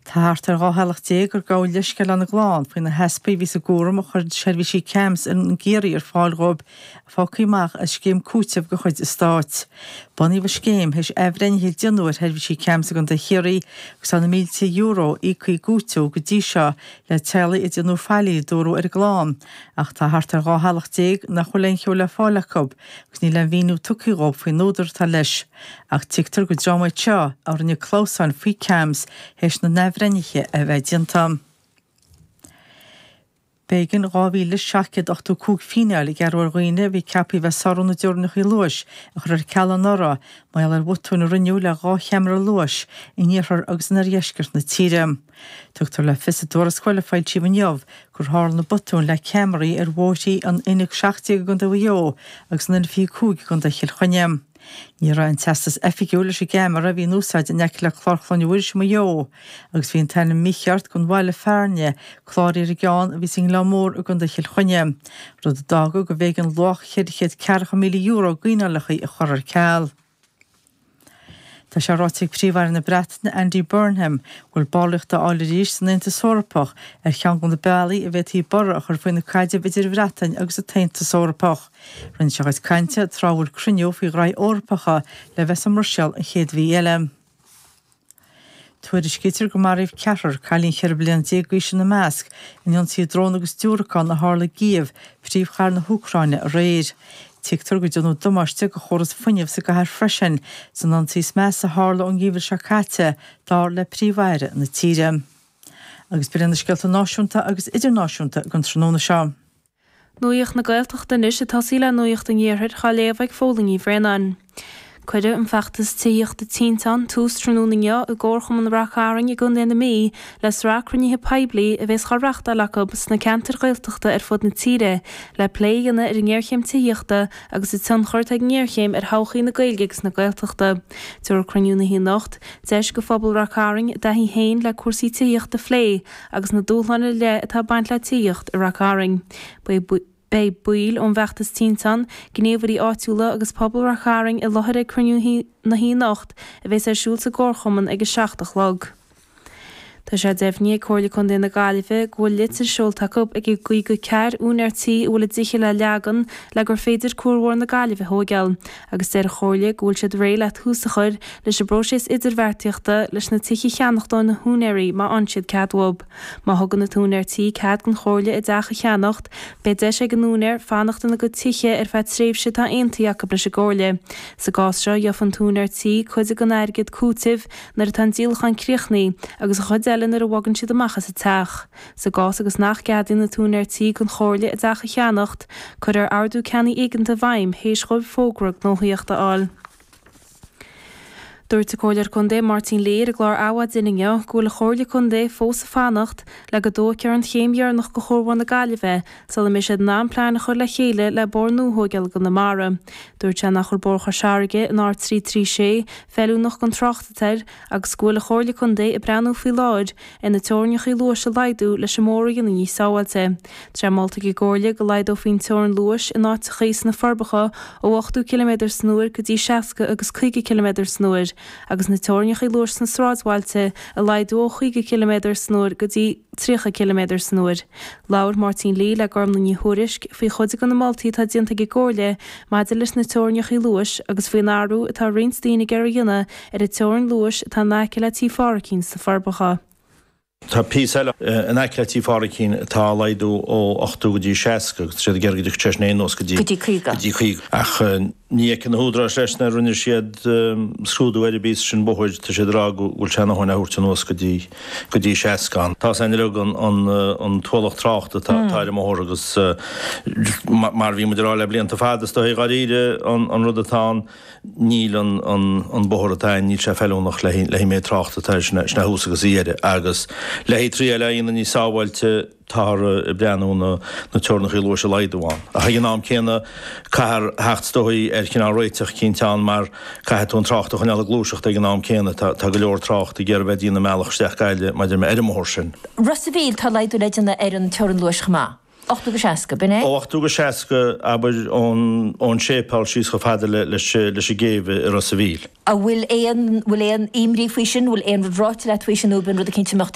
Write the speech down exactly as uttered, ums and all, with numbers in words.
Tá thart ar dhá theaghlach déag ar gabhadh leithscéal lena gclann faoi na heaspaí a bhí sa gcúram a chuir seirbhísí CAMHS in gCiarraí ar fáil dhóibh fágtha amach as scéim cúitimh de chuid an stáit. Bunaíodh an scéim théis athbhreithnithe a déanamh ar sheirbhísí CAMHS i gContae Chiarraí agus tá na mílte euro íoctha i gcúiteamh go dtí seo le teaghlaigh a déanadh faillí a dúradh ar a gclann ach tá thart ar dhá theaghlach déag nach bhfuil aon cheo le fáil acu agus níl aon mhíniú tugtha dhóibh faoin údar atá leis. Ach tuigtear gur dream iad seo a rinne clamhsáin faoi CAMHS théis na n-athbhreithnithe a bheith déanta. B'éigean dhá mhíle seacht gcéad ochtó cúig fíneáil a gearradh ar dhaoine a bhí ceaptha a bheith ag sárú na dteorainneacha luais a chur ar ceal anuraidh mar gheall ar bhotúin a rinneadh le dhá cheamara luais in iarthar agus in oirdheisceart na tíre. Tugtar le fios i dtuarascáil a foilsíodh inniu gur tharla na botúin le ceamaraí ar bhóithrí an N a seacht déag i gContae Mhaigh Eo agus an N fiche cúig i gContae Chill Chainnigh. Ní raibh aon teastas oifigiúil leis an gceamara a bhí in úsáid in aice le Clár Chlainne Mhuiris i Maigh Eo agus bhí an t-ainm mícheart don bhaile fearainne cláraithe ar an gceann a bhí sa nGleann Mór i gContae Chill Chainnigh, rud a d'fhága go mb'éigean luach cheithre chéad ceathracha míle euro d'fhíneálacha a chur ar ceal. Tá sé ráite ag Príomh-Aire na Breataine Andy Burnham go bhfuil ballraíocht a fháil arís san Aontas Eorpach ar cheann de na bealaí a bhféadfaí borradh a chur faoi na caidrimh idir an Bhreatain agus an tAontas Eorpach. Rinne sé a chuid cainte tráth a bhfuil cruinniú faoi ghraithí Eorpacha le bheith sa mBruiséil an chéad mhí eile. Tuairiscítear gur maraíodh ceathrar, cailín cheithre bliana déag d'aois ina measc, in ionsaí drón agus diúracán a tharla i gCív, príomhchathair na hÚcráine, aréir. Tuigtear gur déanadh damáiste do chóras fuinnimh sa gcathair freisin san ionsaí is measa a tharla ón ngeimhreadh seo caite, dar le Príomh-Aire na tíre. Agus b'in iad na scéalta náisiúnta agus idirnáisiúnta don tráthnóna seo. Nuacht na Gaeltachta anois ag tosaí le Nuacht an Iarthair á léamh ag Fódhla Ní Bhraonáin. Cuireadh an feachtas tithíochta Tinteán tús tráthnóna inniu i gComharchumann Rath Cairn i gContae na Mí le sraith cruinnithe poiblí a bheas á reáchtáil acu sna ceantair Ghaeltachta ar fud na tíre le plé a dhéanamh ar an ngéarchéim tithíochta agus an tionchar atá ag an ngéarchéim ar thodhchaí na Gaeilge agus na Gaeltachta. Tabharfaidh cruinniú na hoíche anocht deis do phobal Rath Cairn a dtaithí féin le cúrsaí tithíochta a phlé agus na dúshláin ar leith atá ag baint le tithíocht i Rath Cairn. Beidh baill ón bhfeachtas Tinteán, gníomhairí áitiúla agus pobal Rath Cairn i láthair ag cruinniú na hoíche anocht a bheas ar siúl sa gComharchumann ag a seacht a chlog. Tá sé deimhnithe ag Comhairle Contae na Gaillimhe go bhfuil litir seolta acu ag an gcaoga ceathair úinéir tí a bhfuil a dtithe le leagan le gur féidir Cuarbhóthar na Gaillimhe a thóigeáil, agus deir an Chomhairle go bhfuil siad réidh le tús a chur leis an bpróiseas idirbheartaíochta leis na tithe a cheannacht ó na húinéirí má fhaigheann siad cead uathu. Má thugann an t-úinéir tí cead don Chomhairle a dteach a cheannacht, beidh deis ag an úinéir fanacht ina gcuid tithe ar feadh tréimhse atá aontaithe acu leis an gComhairle. Sa gcás seo, gheofa an t-úinéir tí cuid den airgead cúitimh nuair atá an díolachán críochnaithe agus an chuid eile nuair a bhogann siad amach as an teach. Sa gcás agus nach gceadaíonn an t-úinéir tí don Chomhairle a dteach a cheannacht, cuirfear ordú ceannaigh éigeanta i bhfeidhm théis dhóibh fógra gnóthaíochta a fháil. Dúirt an Comhairleoir Contae Máirtín Lee ar an gclár Adhmhaidin inniu go bhfuil an Chomhairle Contae fós ag fanacht le go dtógfar an chéim dheireanach de Chuarbhóthar na Gaillimhe sula mbeidh siad in ann plean a chur le chéile le bóthar nua a thóigeáil i gConamara. Dúirt sé nach bhfuil Bóthar Chois Fharraige, an R trí trí sé, feiliúnach don trácht atá air agus go bhfuil an Chomhairle Contae ag breathnú faoi láthair ar na teorainneacha luais a laghdú leis an mbóthar a dhéanamh níos sábháilte. Tá sé molta ag an gComhairle go laghdófaí an teorainn luais in áiteachaí sna Forbacha ó ochtó ciliméadar san uair go dtí seasca agus caoga ciliméadar san uair agus na teorainneacha luais sna sráidbhailte a laghdú ó chaoga ciliméadar san uair go dtí tríocha ciliméadar san uair. Labhair Máirtín Lee le Gormlaith Ní Thuairisg faoi chuid de na moltaí atá déanta ag an gComhairle maidir leis na teorainneacha luais agus faoin athrú atá roinnt daoine ag iarraidh a dhéanamh ar an teorainn luais atá in aice le Tí Pháraic sna Forbacha. Tá píosa eile in aice le Tí Pháraic atá á laghdú ó ochtó go dtí seasca agus tá siad ag iarraidh go dtiocfadh sé sin anuas go dtí go dtí caoga. Ach ní fheiceann na húdaráis leis nár rinne siad scrúdú ar an bpíosa sin bóthair, tá siad ag rá go bhfuil sé ina dhóthain a thabhairt anuas go dtí go dtí seasca. Tá sé uilig an an t-ualach tráchta atá atá ar an mbóthar agus mar a bhí muid ag rá le blianta fada is dóigh dháiríre an an rud atá ann. Níl an bóthar atá ann, níl sé feiliúnach le haghaidh an méid tráchta atá air, sin é thuas agus a dheireadh. Agus le haghaidh triail a dhéanamh níos sábháilte, táthar ag breathnú na teorainneacha luais a laghdú ann. Ach ag an am céanna, caithfear theacht is dóigh ar chineál réiteach eicínt ann mar caithfidh tú an trácht a choinneáil ag gluaiseacht ag an am céanna. Tá go leor trácht ag iarraidh bheith ag déanamh a mbealach isteach Gaillimh maidir le ar an mbóthar sin. Ros a' Mhíl, tá laghdú le déanamh ar an teorainn luais chomh maith. ochtó go seasca, b'in é? Ó ochtó go seasca, abair, ón ón séipéal síos chomh fada le leis leis an gcéibh i Ros a' Mhíl. An bhfuil aon bhfuil aon imní faoi sin, bhfuil aon rud ráite leat faoi sin nó b'in rud eicínt a mbeadh